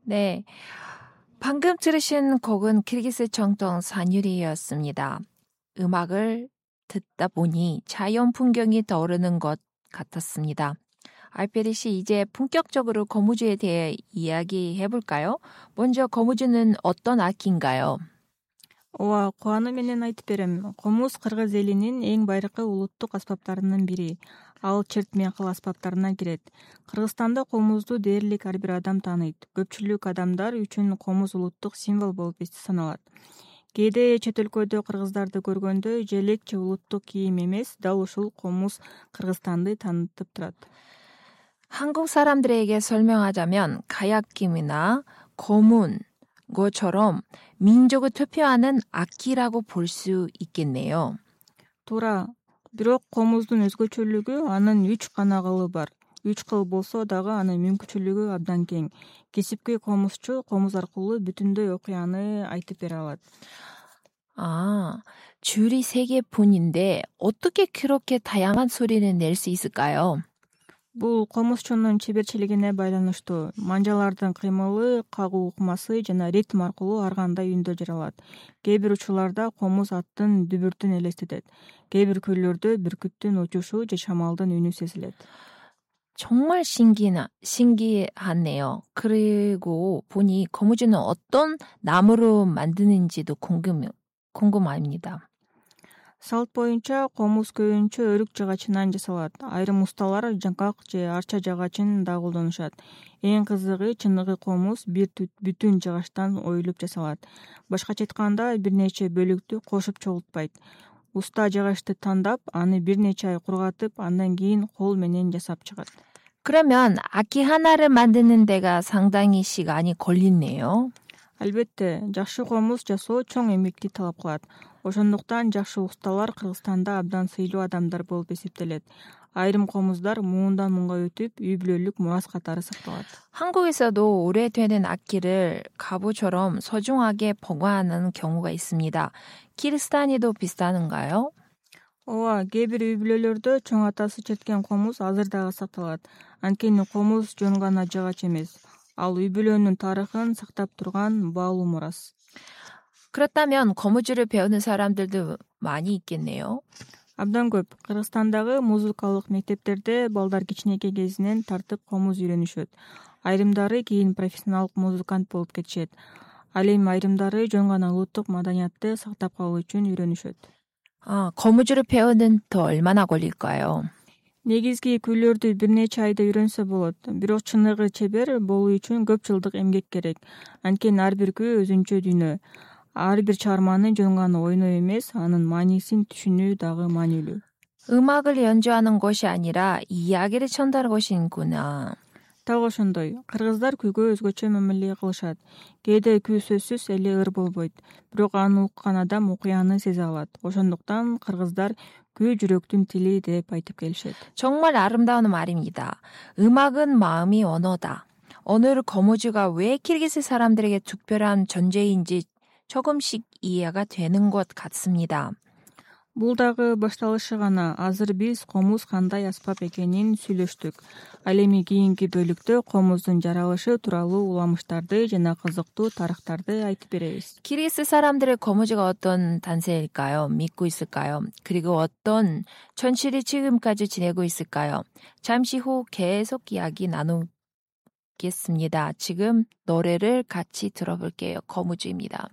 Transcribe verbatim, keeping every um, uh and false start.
네, 방금 들으신 곡은 키르기스 정통 산유리였습니다. 음악을 듣다 보니 자연 풍경이 떠오르는 것 같았습니다. 알페리 씨, 이제 본격적으로 거무주에 대해 이야기해 볼까요? 먼저 거무주는 어떤 악기인가요? ооба, кубануу менен айтып берем. Комуз кыргыз элинин эң байыркы улуттук аспаптарынын бири. Ал чертме кыл аспаптарына кирет. Кыргызстанда комузду дээрлик ар бир адам тааныйт. Көпчүлүк адамдар үчүн комуз улуттук символ болуп саналат. Кээде чет өлкөдө кыргыздарды көргөндө желек же улуттук кийим эмес, дал ушул комуз Кыргызстанды таанытып турат. 한국 사람들에게 설명하자면 가야김이나 거문, 것처럼 민족을 대표하는 악기라고 볼 수 있겠네요. Туура. Бирок комуздун өзгөчөлүгү анын үч канагалы бар. Үч кыл болсо дагы анын мүмкүнчүлүгү абдан кең. Кесипкөй комузчу комуз аркылуу бүтүндөй окуяны айтып бере алат. 아, 줄이 세 개뿐인데 어떻게 그렇게 다양한 소리를 낼 수 있을까요? Бул комузчунун чеберчилигине байланыштуу. Манжалардын кыймылы, кагуу ыкмасы жана ритм аркылуу ар кандай үндө жаралат. Кээ бир учурларда комуз аттын дүбүртүн элестетет. Кээ бир көйлөрдө бүркүттүн учушу же шамалдын үнү сезилет. 정말 신기나, 신기하네요. 그리고 보니 거무주는 어떤 나무로 만드는지도 궁금, 궁금합니다. Салт боюнча комуз көбүнчө өрүк жагачынан жасалат. Айрым усталар жаңкак же арча жагачын да колдонушат. Эң кызыгы чыныгы комуз бир бүтүн жагачтан оюлуп жасалат. Башкача айтканда бир нече бөлүктү кошуп чогултпайт. Уста жагачты тандап, аны бир нече ай кургатып, андан кийин кол менен жасап чыгат. 그러면 악기 하나를 만드는 데가 상당히 시간이 걸리네요. Албетте, жакшы комуз жасоо чоң эмгекти талап кылат. Ошондуктан жакшы усталар Кыргызстанда абдан сыйлуу адамдар болуп эсептелет. Айрым комуздар муундан муунга өтүп, үй бүлөлүк мурас катары сакталат. 한국에서도 오래되는 악기를 가부처럼 소중하게 보관하는 경우가 있습니다. 키르스타니도 비슷한가요? ооба, кээ бир үй бүлөлөрдө чоң атасы черткен комуз азыр дагы сакталат. Анткени комуз жөн гана жагач эмес. Ал үй бүлөнүн тарыхын сактап турган баалуу мурас. 그렇다면 거무주를 배우는 사람들도 많이 있겠네요. Абдан көп. Кыргызстандагы музыкалык мектептерде балдар кичинекей кезинен тартып комуз үйрөнүшөт. Айрымдары кийин профессионалдык музыкант болуп кетишет. Ал эми айрымдары жөн гана улуттук маданиятты сактап калуу үчүн үйрөнүшөт. 아, 거무주를 배우는 더 얼마나 걸릴까요? Негизги күйлөрдү бир нече айда үйрөнсө болот. Бирок чыныгы чебер болуу үчүн көп жылдык эмгек керек. Анткени ар бир күй өзүнчө дүйнө. Ар бир чыгарманы жөн гана ойноо эмес, анын маанисин түшүнүү дагы маанилүү. 음악을 연주하는 것이 아니라 이야기를 전달하는 것이구나. Так ошондой. Кыргыздар күйгө өзгөчө мамиле кылышат. Кээде күй сөзсүз эле ыр болбойт. Бирок аны уккан адам окуяны сезе алат. Ошондуктан кыргыздар күй жүрөктүн тили деп айтып келишет. 정말 아름다운 말입니다. 음악은 마음이 언어다. 오늘 거무주가 왜 키르기스 사람들에게 특별한 존재인지 조금씩 이해가 되는 것 같습니다. Бул дагы башталышы гана. Азыр биз комуз кандай аспап экенин сүйлөштүк. Ал эми кийинки бөлүктө комуздун жаралышы тууралуу уламыштарды жана кызыктуу тарыхтарды айтып беребиз. 키르기스 사람들의 거무주가 어떤 단세일까요? 믿고 있을까요? 그리고 어떤 전실이 지금까지 지내고 있을까요? 잠시 후 계속 이야기 나누겠습니다. 지금 노래를 같이 들어볼게요. 거무주입니다.